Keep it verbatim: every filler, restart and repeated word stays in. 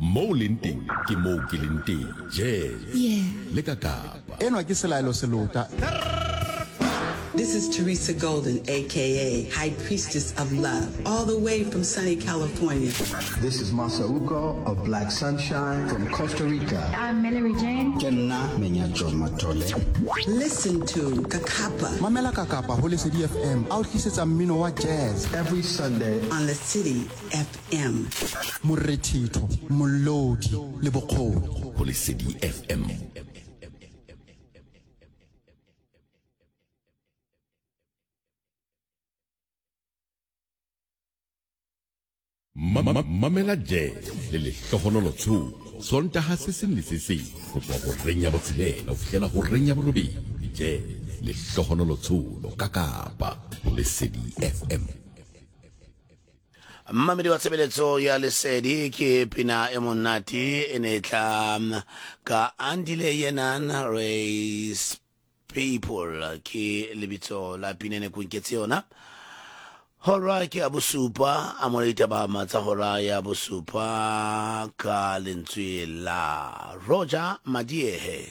Mo o leng teng ke moo ke leng teng. Jazz. Yeah. Le ka Kapa. Enwa ke Selaelo Selota. This is Teresa Golden, aka High Priestess of Love, all the way from sunny California. This is Masauko of Black Sunshine from Costa Rica. I'm Mallory Jane. Ke nna Menyatso Mathole. Listen to Kakapa. Mamela Kakapa ho Lesedi F M a o tlisetsa mmino wa jazz every Sunday on the City F M. Morethetho, molodi le bokgoni ho Lesedi F M. Mamela Jazz le Lehlohonolo Tsholo Sontaha se seng le se seng ho tloha horeng ya botshelela ho fihlela horeng ya borobedi. Jazz Lehlohonolo Tsholo ka Kapa Lesedi F M. Mmamedi wa tshebeletso ya Lesedi ke pina e monate e ne tla ka Andile Yenan Race People ke lebitso la pina ne kunketse yona. Hora ke ya bosupa, a mo ditaba matsa hora ya bosupa ka lentswe la Roger Madiehe.